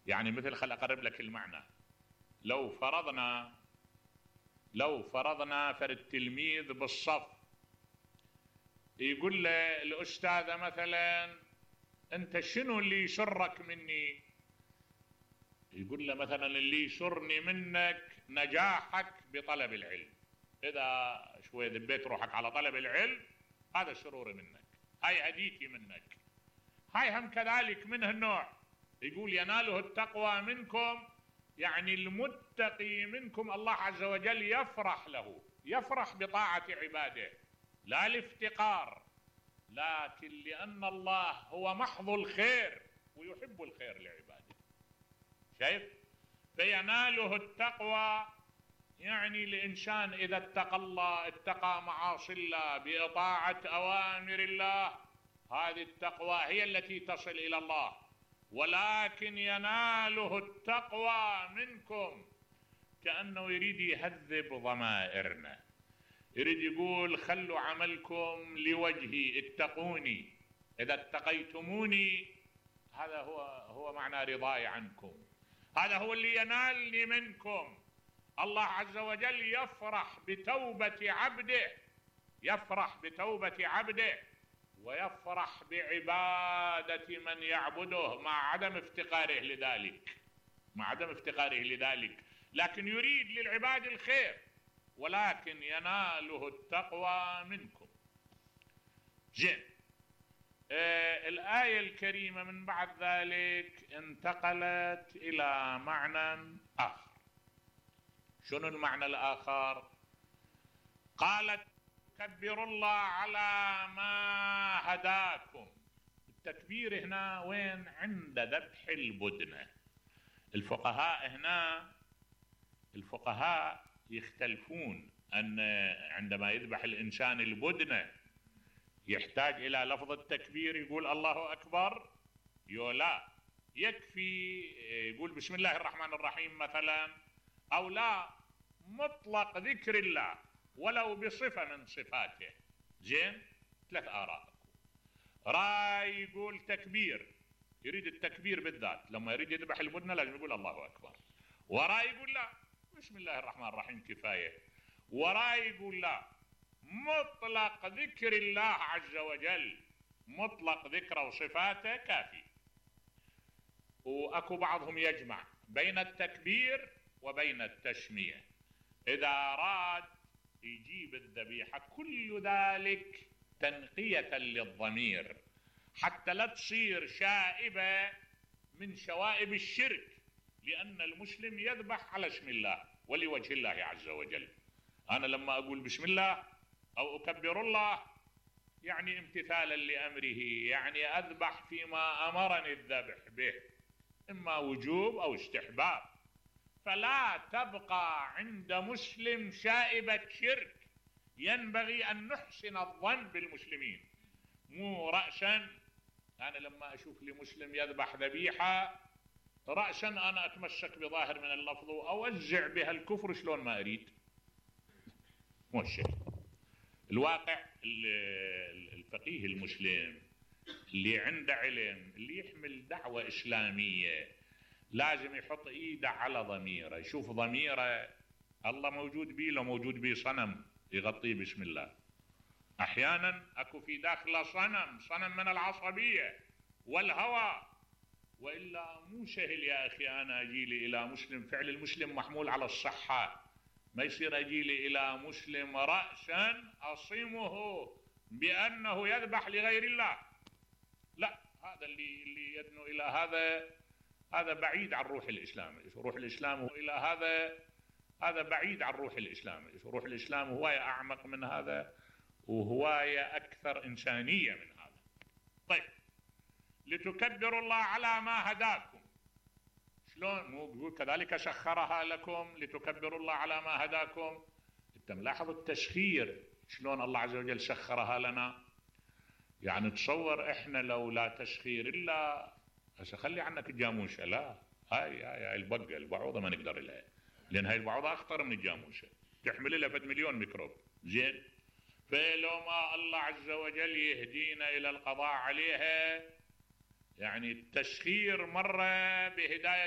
يعني مثل، خل اقرب لك المعنى. لو فرضنا فرد تلميذ بالصف يقول له الأستاذة مثلا أنت شنو اللي يسرك مني؟ يقول له مثلا اللي يسرني منك نجاحك بطلب العلم، إذا شوي دبيت روحك على طلب العلم هذا سروري منك، هاي هديتي منك. هاي هم كذلك من هالنوع. يقول يناله التقوى منكم، يعني المتقي منكم الله عز وجل يفرح له، يفرح بطاعة عباده، لا الافتقار، لكن لأن الله هو محض الخير ويحب الخير لعباده. شايف؟ فيناله التقوى، يعني الإنسان إذا اتقى الله، اتقى معاصي الله بإطاعة أوامر الله، هذه التقوى هي التي تصل إلى الله. ولكن يناله التقوى منكم، كأنه يريد يهذب ضمائرنا، يريد يقول خلوا عملكم لوجهي، اتقوني، إذا اتقيتموني هذا هو معنى رضاي عنكم، هذا هو اللي ينالني منكم. الله عز وجل يفرح بتوبة عبده، يفرح بتوبة عبده، ويفرح بعبادة من يعبده مع عدم افتقاره لذلك، مع عدم افتقاره لذلك، لكن يريد للعباد الخير، ولكن يناله التقوى منكم. زين. الآية الكريمة من بعد ذلك انتقلت إلى معنى آخر. شنو المعنى الآخر؟ قالت كبروا الله على ما هداكم. التكبير هنا وين؟ عند ذبح البدنة. الفقهاء يختلفون أن عندما يذبح الإنسان البدنة يحتاج إلى لفظ التكبير، يقول الله أكبر، لا يكفي يقول بسم الله الرحمن الرحيم مثلا، أو لا مطلق ذكر الله ولو بصفة من صفاته. زين. 3 آراء. راي يقول تكبير، يريد التكبير بالذات، لما يريد يذبح البدنة لازم يقول الله أكبر. وراي يقول لا بسم الله الرحمن الرحيم كفاية. وراي يقول لا مطلق ذكر الله عز وجل، مطلق ذكره وصفاته كافي. وأكو بعضهم يجمع بين التكبير وبين التسمية، إذا أراد يجيب الذبيحة، كل ذلك تنقية للضمير حتى لا تصير شائبة من شوائب الشرك، لأن المسلم يذبح على اسم الله ولوجه الله عز وجل. أنا لما أقول بسم الله أو أكبر الله يعني امتثالا لأمره، يعني أذبح فيما أمرني الذبح به، إما وجوب أو استحباب. فلا تبقى عند مسلم شائبة شرك، ينبغي أن نحسن الظن بالمسلمين. مو رأسا أنا لما أشوف لمسلم يذبح ذبيحة رأسا أنا أتمسك بظاهر من اللفظ وأوزع بها الكفر شلون ما أريد. مو الشيء. الواقع الفقيه المسلم اللي عنده علم، اللي يحمل دعوة إسلامية، لازم يحط إيده على ضميره، يشوف ضميره الله موجود بيه لو موجود بيه صنم يغطيه بسم الله. أحيانا أكو في داخله صنم من العصبية والهوى، وإلا مو سهل يا أخي أنا أجيلي إلى مسلم، فعل المسلم محمول على الصحة، ما يصير أجيلي إلى مسلم رأسا أصمه بأنه يذبح لغير الله. لا، هذا اللي يدنو إلى هذا بعيد عن روح الإسلام. روح الإسلام هو إلى هذا بعيد عن روح الإسلام. روح الإسلام هواية أعمق من هذا وهواية أكثر إنسانية من هذا. طيب، لتكبروا الله على ما هداكم. شلون؟ مو يقول كذلك سخرها لكم لتكبروا الله على ما هداكم. انت ملاحظ التسخير شلون الله عز وجل سخرها لنا؟ يعني تصور احنا لو لا تسخير الا هسه خلي عنك الجاموسه، لا هاي البقه البعوضه ما نقدر لها، لان هاي البعوضه اخطر من الجاموسه، تحمل لها 1,000,000 ميكروب. زين. فلو ما الله عز وجل يهدينا الى القضاء عليها، يعني التسخير مرة بهداية